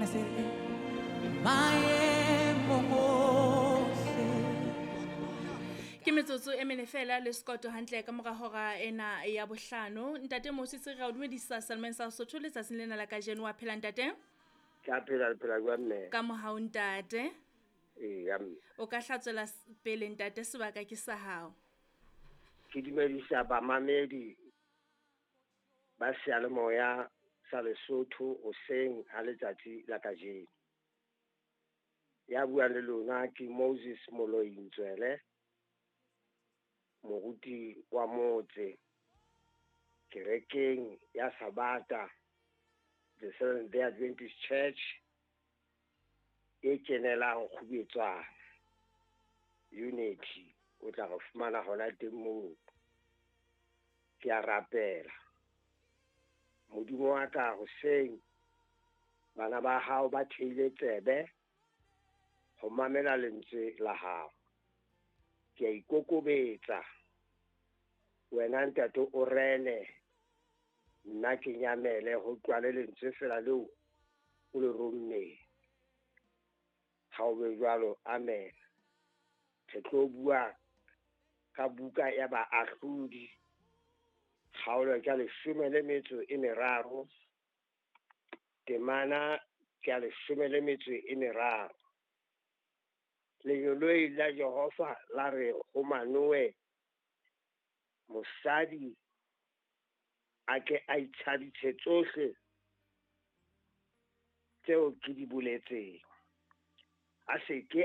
Pina se re maemong ohle. Ke metsotso e mene fela le sekoto hantle ka mora hora ena ya bohlano. Ntate Moses, re o dumedisa Salman sa Sotho letsatsing lena la kajeno. Wa phela, ntate? Ke a phela, le phela jwang, mme? Ka mohau, ntate. Eya, mme. O ka hlatswela pele, ntate, sebaka ke sa hao. Ke dumedisa bamamedi ba seyalemoya sa Lesotho hoseng ha letsatsi la kajeno. Ya buang le lona ke Moses Moloi Ntswele, moruti wa motse kerekeng ya Sabata, the Seventh Day Adventist Church e kenelang Kgubetswana Unity. O tla re fumana hona teng moo. Ke a rapela, Modimo wa ka, hoseng bana ba hao ba theile tsebe ho mamela lentswe la hao. Ke a ikokobetsa, wena ntate o rene, nna ke nyamele ho tlwale lentswe fela leo o le rommeng. Ha o be jwalo, amen. Re tlo bua ka buka ya Baahlodi, kgaolo ke ya 13, temana ke ya 13. Lengeloi la Jehova la re ho Manoe, mosadi a ke a itshadise tsohle tseo ke di boletseng, a se ke